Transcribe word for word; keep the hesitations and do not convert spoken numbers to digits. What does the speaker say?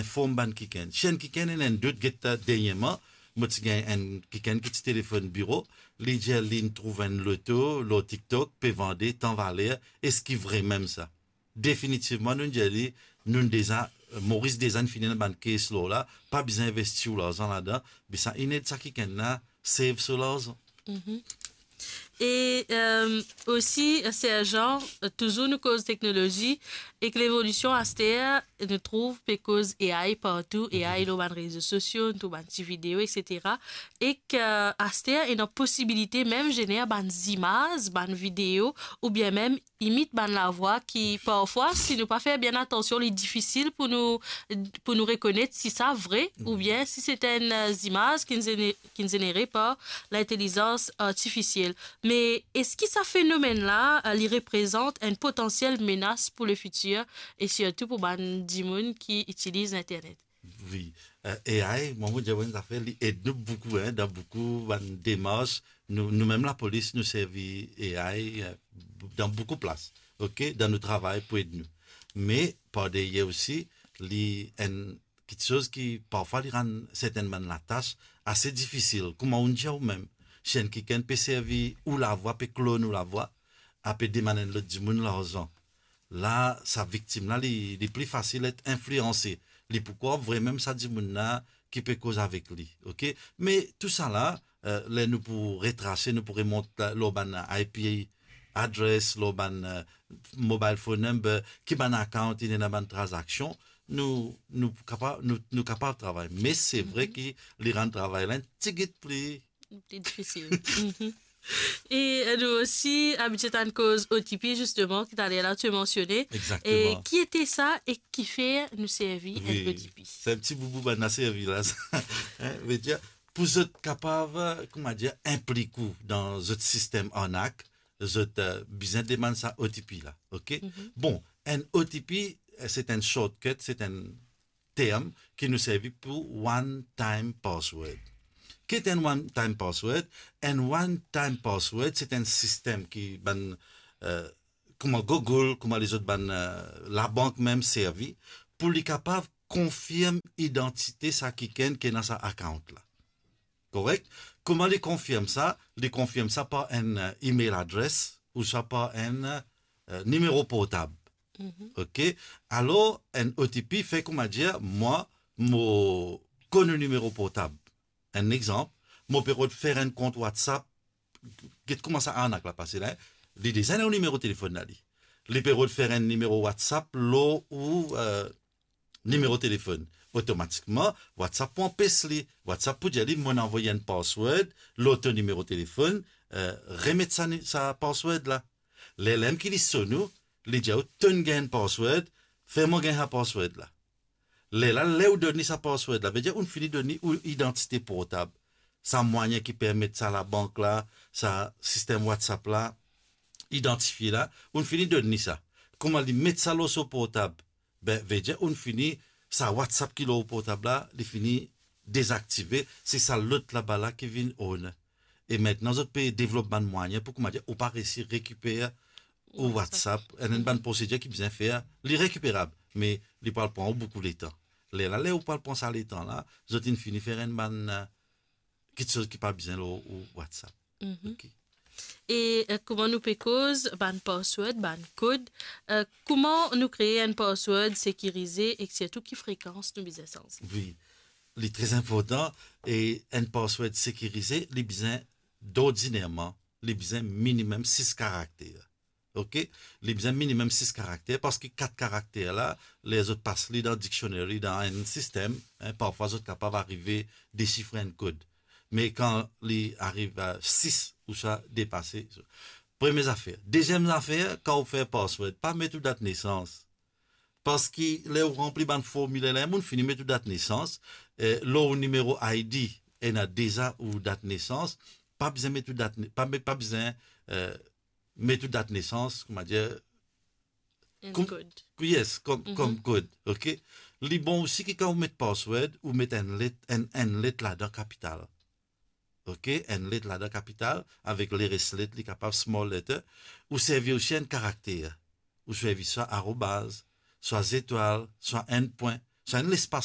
inform bann kikenn. Si enn kikenn ena enn dout, get, derniereman, mo ti gagn enn kikenn ki ti telefonn biro, li dir li inn trouv enn loto lor TikTok, pe vande tan valer, eski vre mem sa? Definitivman, nou dir li, nou deza, Moris deza inn fini ena bann case law la, pa bizin investi ou larzan ladan, be sa inn ed sa kikenn la save so larzan. E euh, osi, Serjan, touzour nou koz teknolozi, ek levolision aster, nou trouv pe koz A I partou, A I lor bann rezo sosio, nou trouv bann ti video, et cetera. Ek euh, aster, ena posibilite mem zener bann zimaz, bann video, oubien mem imit bann lavwa ki parfwa, si nou pa fer bien atansion, li difisil pou nou, pou nou rekonet si sa vre, oubien si se enn euh, zimaz ki zene- ki zenere par lintelizans artifisiel. Me eski sa fenomenn la, euh, li reprezant enn potansiel menas pou lefitir e sirtou pou bann dimoun ki itiliz Internet? Wi. Euh, A I, mwa, mo dir enn zafer, li ed nou boukou, hein, dan boukou bann demars. Nou, nou mem lapolis, nou servi A I euh, dan boukou plas, ok, dan nou travay pou ed nou. Me par deryer osi, li enn kiksoz ki parfwa li rann sertenn bann latas ase difisil. Kouma ou'nn dir ou mem, si enn kikenn pe servi ou lavwa, pe klone ou lavwa, ape demann enn lot dimoun larzan, la sa viktim la, li, li pli fasil et inflianse. Li pou krwar vremem sa dimoun la ki pe koz avek li, ok? Me tou sa la, euh, ler nou pou retrase, nou pou remont la, lor bann I P address, lor bann euh, mobile phone number, ki bann account inn ena bann tranzaksion, nou, nou kapav, nou, nou kapav travay. Me se vre ki li rann travay la enn tigit pli Pli difisil. Mhm. E euh, nou osi abitie tann koz O T P, zisteman, ki taler la to mansione. Exactement. Ki ete sa e kifer nou servi enn O T P? Se enn ti boubou bann la servi la, sa. Hein, vedir, pou zot kapav, euh, kouma dir, inplik ou dan zot sistem arnak, zot euh, bizin demann sa O T P la, ok? Bon, enn O T P, euh, se enn shortcut, se enn term ki nou servi pou one time password. Ki ete enn one time password? Enn one time password, se enn sistem ki bann, euh, kouma Google, kouma lezot bann euh, labank mem servi, pou li kapav konfirm idantite sa kikenn ki ena sa account la. Korek? Kouma li konfirm sa? Li konfirm sa par enn euh, email address ouswa par enn euh, nimero portab. Ok? Alor, enn O T P, fer kouma dir, mwa, mo konn ou nimero portab. Enn exanp, mo pe rod fer enn kont WhatsApp, get kouma sa arnak la pase la, hein? Li deza ena ou nimero telefonn la li. Li pe rod fer enn nimero WhatsApp lor ou euh, nimero telefonn. Otomatikman, WhatsApp pou anpes li. WhatsApp pou dir li, mo'nn avoy enn password lor to nimero telefonn, euh, remet sa, ni- sa password la. Lerla mem ki li sonn ou, li dir ou, to'nn gagn enn password, fer mwa gagn sa password la. Lerla, ler ou donn li sa password la, vedir ou'nn fini donn li ou idantite portab. Sa mwayin ki permet sa labank la, sa sistem WhatsApp la, idantifie la, ou'nn fini donn li sa. Kouma li met sa lor so portab, be, vedir ou'nn fini, sa WhatsApp ki lor portab la, li fini dezaktive, se sa lot laba la ki vinn on. E aster zot pe devlop bann mwayin pou, kouma dir, ou pa resi rekiper ou WhatsApp, enn bann prosedir ki bizin fer, li rekiperab, me li pou al pran ou boukou letan. Lerla, ler ou pou al pran sa letan la, zot inn fini fer enn bann euh, kiksoz ki pa bizin lor ou WhatsApp. Ok. E euh, kouma nou pe koz bann password, bann kod, euh, kouma nou kree enn password sekirize ek sirtou ki frekans nou bizin sanze? Wi, li tre inportan. E enn password sekirize, li bizin, dordinerman, li bizin minimem sis karakter. Ok? Li bizin minimem sis karakter, parski kat karakter la, ler zot pas li dan dictionary, dan enn sistem, hein, parfwa zot kapav arive desifre enn kod. Me kan li ariv a sis ouswa depase, premie zafer. Deziem zafer, kan ou fer password, pa met ou dat nesans. Parski ler ou ranpli bann formiler la, mo'nn fini met ou dat nesans, eh, lor ou nimero I D, ena deza ou dat nesans, pa bizin met ou dat ne- pa met- pa bizin eh, met ou dat nesans, kouma dir, Enn Kom- kod. Yes, kom, kom kod, ok? Li bon osi ki kan ou met password, ou met enn let, enn, enn let ladan kapital. Ok? Enn let ladan kapital, avek leres let, li kapav small letter. Ou servi osi enn karakter. Ou servi swa arobaz, swa zetwal, swa enn pwin, swa enn lespas